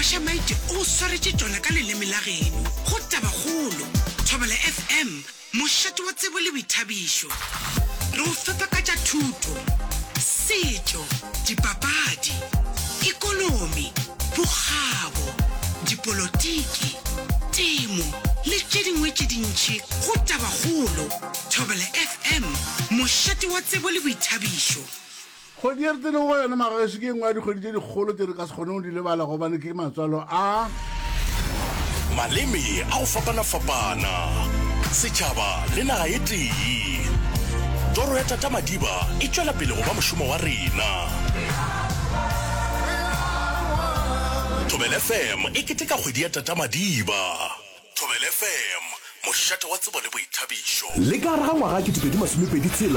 Thabiša Maite o go swaretše tšona ka leleme la geno go Tabakgolo, Thobela FM, mošate wa tsebo le boithabišo. Re go fepa ka tša thuto, setšo, dipapadi, ekonomi, bokgabo, dipolotiki, temo le tše dingwe tše dintši go Tabakgolo, Thobela FM, mošate wa tsebo le boithabišo. Kgwedi ye re tseneng go yona magagešu ke e nngwe ya dikgwedi tše dikgolo tše re ka se kgoneng go di lebala gobane ke matswalo a. Maleme a go fapana-fapana, setšhaba le naga e tee. Toro ya Tata Madiba e tšwela pele go ba mošomo wa rena. Thobela FM e keteka kgwedi ya Tata Madiba. Thobela FM, mošate wa tsebo le boithabišo. Le ka gare ga ngwaga 2026,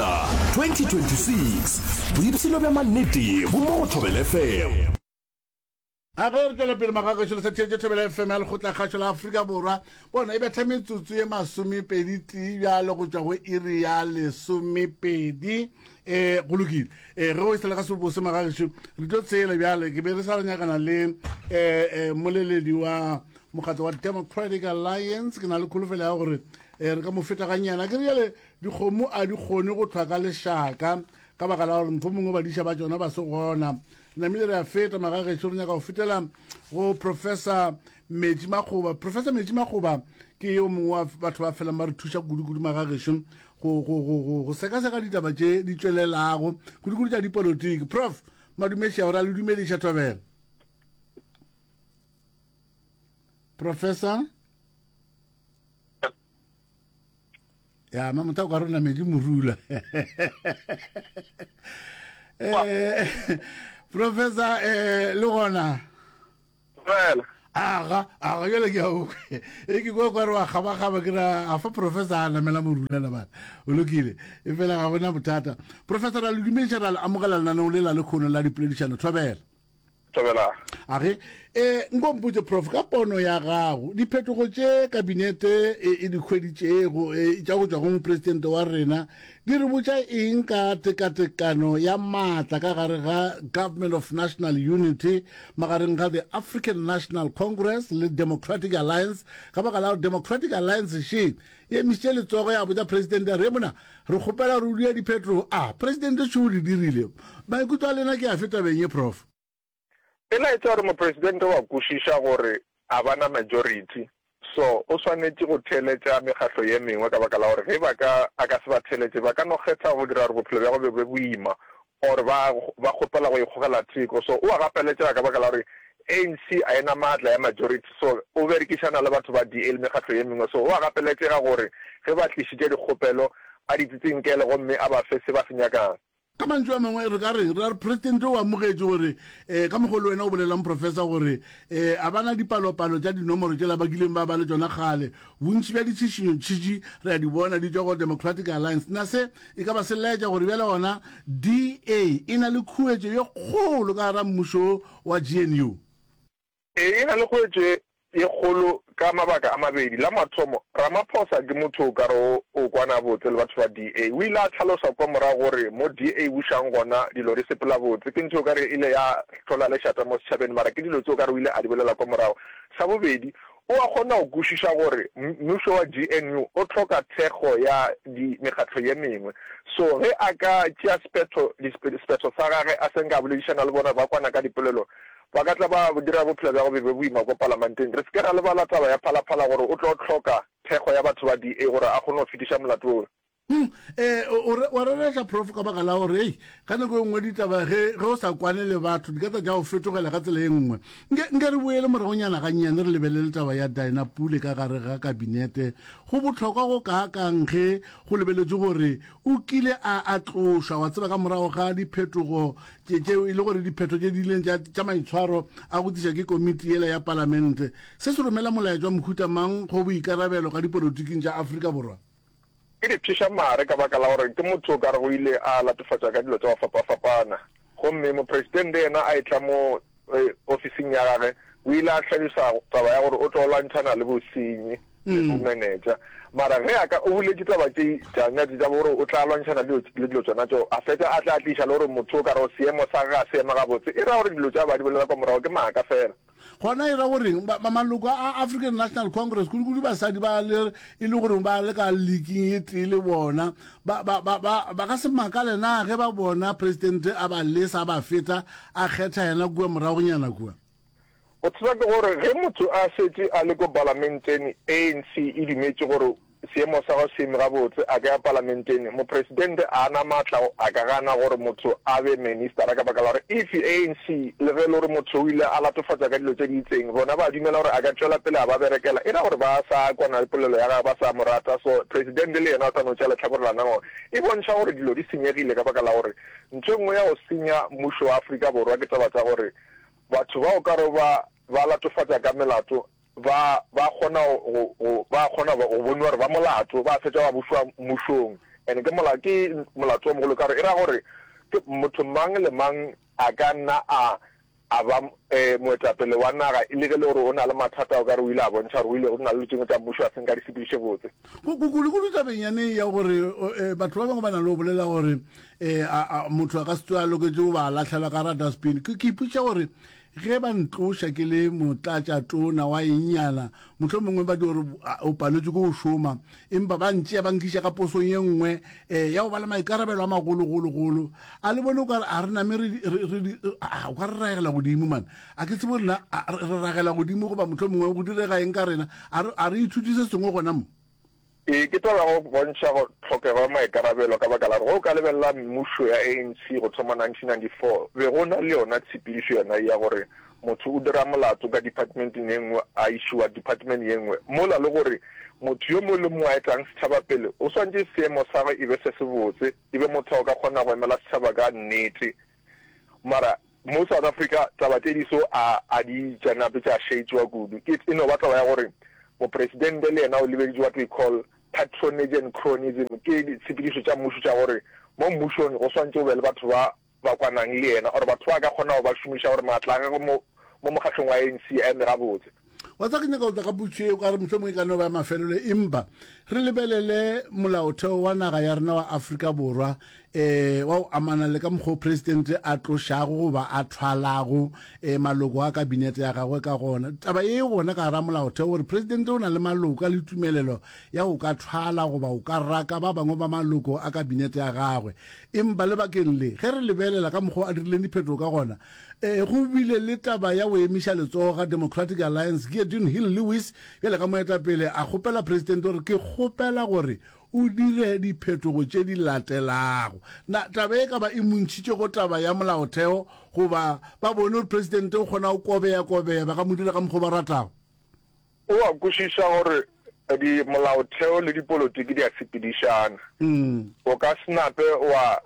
2026, boipshino bja mannete bo mo go Thobela FM. A ge re tšwela pele magagešo le sa theetše Thobela FM ya Lekgotlakgašo la Afrika Borwa. Bona e betha metsotso ye masomepedi tee bjale go tšwa go iri ya lesomepedi. Um go lokile. Um ge o e sele ga sebose magagešo re tlo tshela bjale ke be re sa re nyakana le um moleledi wa mokgatlo wa Democratic Alliance. Ke na le kholofelo ya gore um re ka mo feta gannyane. Ke re bjale dikgomo a di kgone go hlwa ka lešaka ka baka la gore mohlomongwe badiša ba tšona ba se gona. Namile re a feta magagešo, re nyaka go fetela go Professor Metši Makgoba. Professor Metši Makgoba ke yo mongwe wa batho ba felang ba re thuša kudu-kudu magagešo go, go, go, go, go sekaseka ditaba tše di tšwelelago kudu-kudu tša dipolotiki. Prof Madumešia, o ra le dumediša thobela. Professor ya ma motho o ka rona medi morula eh professor eh le gona fela aga aga jale ke ao e ke kwa kwa re wa gabagaba ke ra a fa professor a namela morula la bana o lokile e fela ga gona bothata professor ra le dumediša ra le amogela lenaneo le la lekgono la dipoledišano thobela Thobela. A re, E, nko mpotše, Prof, ka pono ya gago, diphetogo tše Kabinete e, e di hweditšego, e, tša go tšwa go Mopresidente wa rena, di re botša eng ka tekatekano ya maatla ka gare ga Government of National Unity magareng ga the African National Congress le Democratic Alliance, ka baka la gore Democratic Alliance še e emišitše letsogo ya botša Presidente ya re, Mona, re kgopela gore o dire diphetogo. A, Presidente šo o di dirile. Maikutlo a lena ke afe tabeng ye, Prof? E laetša gore mopresidente wa kwešiša gore a ba na majority so o swanetše go theeletša mekgahlo ye mengwe ka baka la gore ge ba ka a ka se ba theeletše ba ka no kgetha go dira gore bophelo bja gagwe bo be boima or ba ba kgopela go ikgogela theko so o a gapeletšega ka baka la gore ANC a e na maatla ya majority so o berekišana le batho ba DA le mekgahlo ye mengwe so o a gapeletšega gore ge ba tlišitše dikgopelo a di tsitsinkele gomme a ba fe se ba se nyakang. Ka mantšu a mangwe re ka reng? Ra re Presidente o amogetše gore um ka mokgwa le wena o bolelang Professor gore um a ba na dipalopalo tša dinomoro tšela ba kileng ba ba le tšona kgale. Bontši bja ditšhišinyo tšhitši re a di bona di tšwa go Democratic Alliance. Na se e ka ba se laetša gore bjale gona DA e na le khuetšo ye kgolo ka gara mmušo wa GNU? Ee, e na le khuetšo ye kgolo ka mabaka a mabedi. La mathomo, Ramaphosa ke motho o ka re o kwana botse le batho ba DA. O ile a hlalosa kwa morago gore mo DA e bušang gona dilo di sepela botse. Ke ntho o ka re e ile ya hlola lešata mo setšhabeng mara ke dilo tse o ka re o ile a di bolela kwa morago. Sa bobedi, o a kgona go kwešiša gore mmušo wa GNU o hloka thekgo ya di mekgatlo ye mengwe. So ge a ka tšea sephetho, sephetho sa gage a se nka a boledišana le bona ba kwana ka dipolelo, Ba ka tla ba dira bophelo bja go be be boima ko palamanteng. Re se ke ra lebala taba ya Phalaphala gore o tlo hloka thekgo ya batho ba DA gore a kgone go fetiša molato wo. Hum, eh, o, o, wa rereša Prof ka baka la gore, hei, ka nako e nngwe ditaba ge, ge o sa kwane le batho di ka tla tša go fetogela ka tsela e nngwe. Nke, nke re boele moragonyana gannyane re lebelele taba ya Dinah Pule ka gare ga kabinete. Go bohlokwa go kaakang ge go lebeletšwe gore o kile a, a tlošwa, wa tseba, ka morago ga diphetogo Tše, tšeo e le gore diphetho tše di ileng tša, tša maitshwaro a go tliša ke komiti yela ya palamente. Se se romela molaetša wa mohuta mang go boikarabelo ka dipolotiking tša Afrika Borwa? Ke di pšheša mare ka baka la gore ke motho o ka rego o ile a latofatšwa ka dilo tša go fapafapana. Gomme mopresidente yena a etla mo ofising ya gage, o ile a hlalosa taba ya gore o tlo lwantšhana le bosenyi. le bomenetša. Mara ge a ka, o boletše taba tše tša nyatše tša gore o tla lwantšhana le le dilo tšona tšeo, a fetša a tla tliša le gore motho o ka re seemo sa gagwe ga se ema gabotse, e ra gore dilo tše a ba di bolela kwa morago ke maaka fela. Gona e ra go reng? Ba, ba maloko a African National Congress, kudu-kudu basadi ba le e le gore ba le ka leaking e tee le bona, ba, ba, ba, ba, ba ka se makale na ge ba bona presidente a ba lesa a ba feta a kgetha yena kua moragonyana kua? Bothata ke gore ge motho a šetše a le ko palamenteng, ANC e dumetše gore seemo sa gagwe se eme gabotse, a ka ya palamenteng. Mopresidente a na maatla a ka gana gore motho a be ministera ka baka la gore if ANC le ge e le gore motho o ile a latofatšwa ka dilo tše di itseng, bona ba dumela gore a ka tšwela pele a ba berekela, e ra gore ba sa kwana le polelo ya gagwe, ba sa mo rata. So presidente le yena o tla no tšea lehlakore la nagore. E bontšha gore dilo di senyegile ka baka la gore ntho e nngwe ya go senya mmušo wa Afrika Borwa ke taba tša gore Batho ba o ka re ba ba latofatša ka melato ba ba kgona go go ba kgona go boniwa gore ba molato, ba fetša ba bušwa mmušong. And ke mola ke molato o mogolo ka gore e ra gore ke motho mang le mang a ka nna a a ba moetapele wa naga le ge le gore o na le mathata o ka re o ile a bontšha gore o ile o na le tšengwe tša mmušo a se nka di sepediše botse. Kudu-kudu tabeng yane ya gore batho ba bangwe ba na le go bolela gore E, a, a, motho a ka se tsoge a loketše go ba lahlela ka ra dustbin. Ke, ke ipotšiša gore ge ba ntloša ke le motlatšatona wa ennyana, mohlomongwe ba di gore o paletšwe ke go šoma, empa ba ntšea ba nkiša ka posong ye nngwe um ya go ba le maikarabelo a magologologolo. A le bone o ka re a re name re, re, re, a, o ka re ragela godimo man. A ke tsebe gore na re ragela godimo goba mohlomongwe go direga eng ka rena. A re, a re ithute se sengwe gona mo. Ee, ke taba ya go bontšha go tlhokego ya maikarabelo ka baka la gore ge o ka lebelela mmušo ya ANC go thoma 1994, be go na le yona tshepedišo yona ye ya gore motho o dira molato ka departmenteng ye nngwe a išiwa department ye nngwe, mola le gore motho yo mongwe le mongwe a etang setšhaba pele o swanetše seemo sa gagwe e be se sebotse, e be motho a o ka kgona go emela setšhaba ka nnete. Mara mo South Africa taba tše di so a a di tša nape tša šetšwa kudu. Ke e no ba taba ya gore mopresidente le yena o lebeditše what we call patronage and cronyism, ke ditshepedišo tša mmušo tša gore mo mmušong go swantše go be le batho ba ba kwanang le yena or batho ba a ka kgona go ba šomiša gore maatla a gagwe mo mo mokgahlong wa ANC a eme gabotse. Wa tseba ke nyaka go tla ka potšo ye, o ka re mohlomongwe e ka no ba ya mafelelo, empa re lebelele molaotheo wa naga ya rena wa Afrika Borwa um wa go amana le ka mokgwa o presidente a tlošago goba a thwalago um maloko a kabinete ya gagwe ka gona. Taba ye e gona ka gara molaotheo gore presidente o na le maloko a le tumelelo ya go ka thwala goba go ka raka ba bangwe ba maloko a kabinete ya gagwe. Empa lebakeng le, ge re lebelela ka mokgwa o a dirileng diphetogo ka gona, Ee, go bile le taba ya go emiša letsogo ga Democratic Alliance, Geordin Hill-Lewis bjale ka moetapele a kgopela Presidente gore ke kgopela gore o dire diphetogo tše di latelago. Na taba e ka ba e mo ntšhitše go taba ya molaotheo goba ba bone gore Presidente o kgona go kobeya-kobeya ba ka mo dira ka mokgwa o ba ratago? O a kwešiša gore di molaotheo le dipolotiki di a sepedišana. O ka se nape wa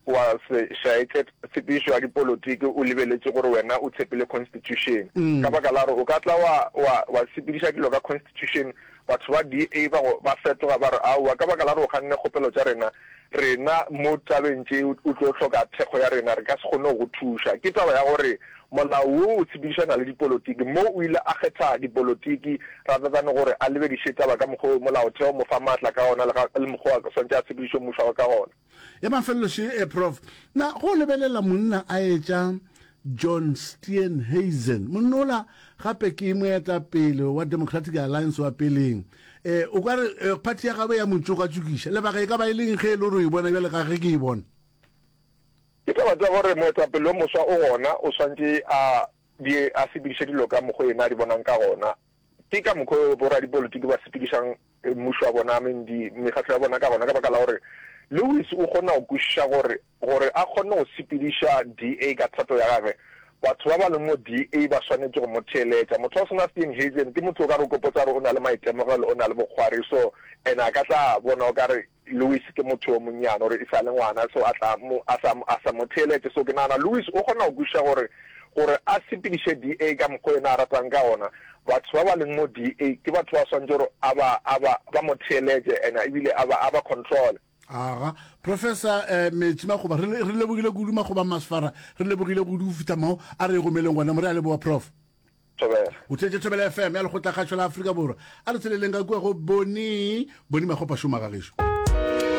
wa se šaetše tshepedišo ya dipolotiki o lebeletše gore wena o tshepile constitution. Ka baka la gore o ka tla wa wa wa sepediša dilo ka constitution, batho ba DA ba go ba fetoga ba re aowa ka baka la gore o ganne kgopelo tša rena, rena mo tabeng tše o tlo hloka thekgo ya rena, re ka se kgone go go thuša. Ke taba ya gore molao wo o tshepedišana le dipolotiki. Mo o ile a kgetha dipolotiki rather than gore a lebediše taba ka mokgwa o molaotheo o mo fa maatla ka gona le ga le mokgwa o a swanetše a tshepediše mmušo wa gagwe ka gona. Ya mafelelo še, eh, Prof. Na go lebelela monna a etša John Steenhuisen, monna ola gape ke moetapele wa Democratic Alliance wa peleng, eh, o ka re eh, party ya gagwe ya mo tšokatšokiša. Lebaka e ka ba e leng ge e le gore o e bona bjale ka ge ke e bona? Ke taba tša gore moetapele yo moswa o gona, o swantše a di a sepediše dilo ka mokgo yena a di bonang ka gona. Ke ka mokgo boradipolotiki ba sepedišang mmušo wa bona, I mean di mekgatlo ya bona ka gona, ka baka la gore Lewis o kgona go kwešiša gore, gore a kgone go sepediša DA ka thato ya gagwe, batho ba ba leng mo DA ba swanetše go mo theeletša. Motho wa go swana Steenhuisen ke motho o ka re o kopotsa gore o na le maitemogelo, o na le bokgwari, so and a ka tla bona o ka re Louis ke motho yo monnyane, gore e sa le ngwana, so a tla mo, a sa, a sa mo theeletše. So ke nagana Louis o kgona go kwešiša gore, gore a sepediše DA ka mokgwa yena a ratang ka gona, batho ba ba leng mo DA ke batho ba swanetše gore a ba, a ba, ba mo theeletše and ebile a ba, a ba control. Aga. Professor eh, Metsi Makgoba, re, re lebogile kudu Makgoba Masfara, re lebogile kudu go fihla mo a re gomeleng gona mo. Re a leboga, Prof. Thobela. O theetše Thobela FM ya Lekgotlakgašo la Afrika Borwa. A re tsheleleng ka kua go Boni, Boni Makgopa šoma ga gešo.